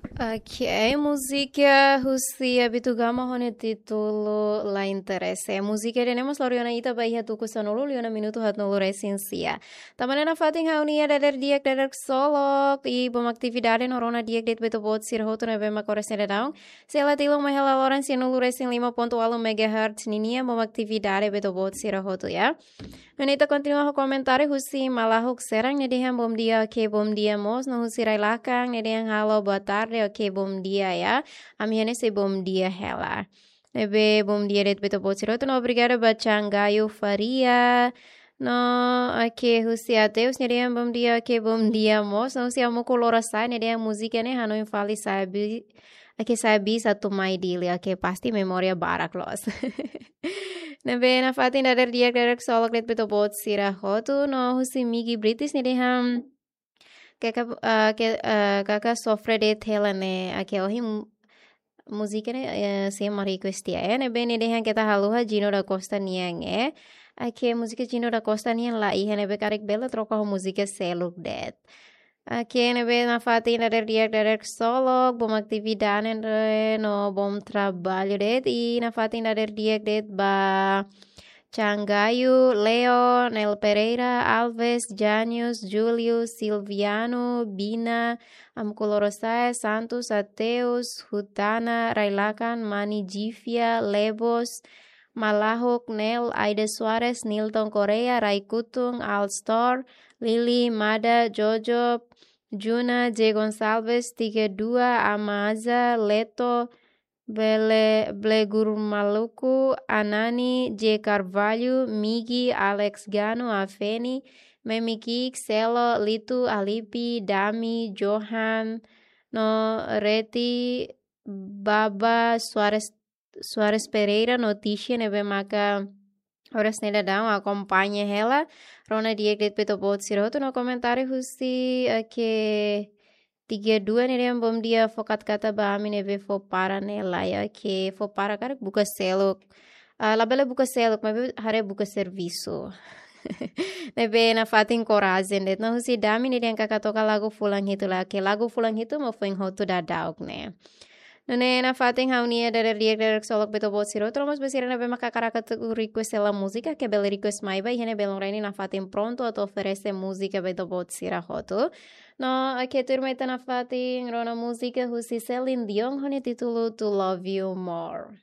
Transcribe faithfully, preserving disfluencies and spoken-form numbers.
Ok, múzika husi Abitugama ho nia títulu La Interese. Múzika ida-ne'e mós lori ona ita ba iha tuku sanulu liu ona minutu haatnulu resin sia. Tanba ne'e nafatin ha'u-nia dadeer di'ak, dadeer ksolok, i bom atividade no rona di'ak de'it ba ita-boot sira hotu ne'ebé mak oras ne'e daudaun sei la tilun mai hela loron sianulu resin lima pontu ualu megahertz ninian, bom atividade ba ita-boot sira hotu, ya. Nune'e ita kontinua ho komentáriu husi Malahuk Serang, nia dehan bom dia, ok, bom dia mós, no husi Railakan, nia dehan halo boa tarde, ok, bom dia, ya. Ami iha ne'e sei bom dia hela. Ne'ebé bom dia de'it ba ita-boot sira hotu, no obrigada ba Changayu Faria. No, ok, husi Ateus, nia dehan bom dia, ok, bom dia mós, no husi Amuku Lorosa'e, nia dehan múzika ne'e hanoin fali sa'e bi-, ok, sa'e bis atu mai Dili, ok, pasti memória barak loos. Ne'ebé nafatin dadeer di'ak, dadeer ksolok de'it ba ita-boot sira hotu, no husi Migi British, nia dehan kaka, ah, ke, ah, kaka sofre de'it hela ne'e, ok, ohin mu-, múzika ne'e, eh, sei mak request tiha, eh, ne'ebé nia dehan keta haluha Gino da Costa nian, eh. Ok, múzika Gino da Costa nian la iha, ne'ebé karik bele troka ho múzika seluk de'it. Ok, ne'ebé nafatin dadeer di'ak, dadeer ksolok, bom atividade no bom trabalho de'it, i nafatin dadeer di'ak de'it ba Changayu, Leo, Nel Pereira, Alves, Janius, Júlio, Silviano, Bina, Amuku Lorosa'e, Santos, Ateus, Hutana, Railakan, Mani Jivia, Lebos, Malahuk, Nel, Aida Soares, Nilton Correia, Raikutun, Alstor, Lili, Mada, Jojo, Juna, J Gonçalves, tiga dua, Amaza, Leto, Bele-, Blegur Maluku, Anani, J Carvalho, Migi, Alex Gano, Afeni, Memi Kik, Selo, Litu, Alipi, Dami, Johan, no Reti, Baba, Soares, Soares Pereira, no Tisha, ne'ebé maka oras ne'e daudaun akompaña hela. Rona di'ak de'it ba ita-boot sira hotu, no komentáriu husi, eh, ke tiga dua, nia dehan bom dia, fó katakata ba ami ne'ebé fó para ne'e la, ya, ke fó para karik buka seluk. Ah, labele buka seluk, maibé haree buka servisu. Ne'ebé nafatin korajen de'it. No husi Dami, nia dehan kaka toka lagu fulan hitu la, ke lagu fulan hitu mak foin hotu daudauk ne'e. Nune'e nafatin ha'u-nia dadeer di'ak, dadeer ksolok ba ita-boot sira hotu, no mós ba sira ne'ebé mak hakarak atu request hela múzika, ke bele request mai ba iha ne'e, belun rai ne'e nafatin prontu atu oferese múzika ba ita-boot sira hotu. No, ok, tuirmai ita nafatin rona múzika husi Celine Dion ho nia títulu To Love You More.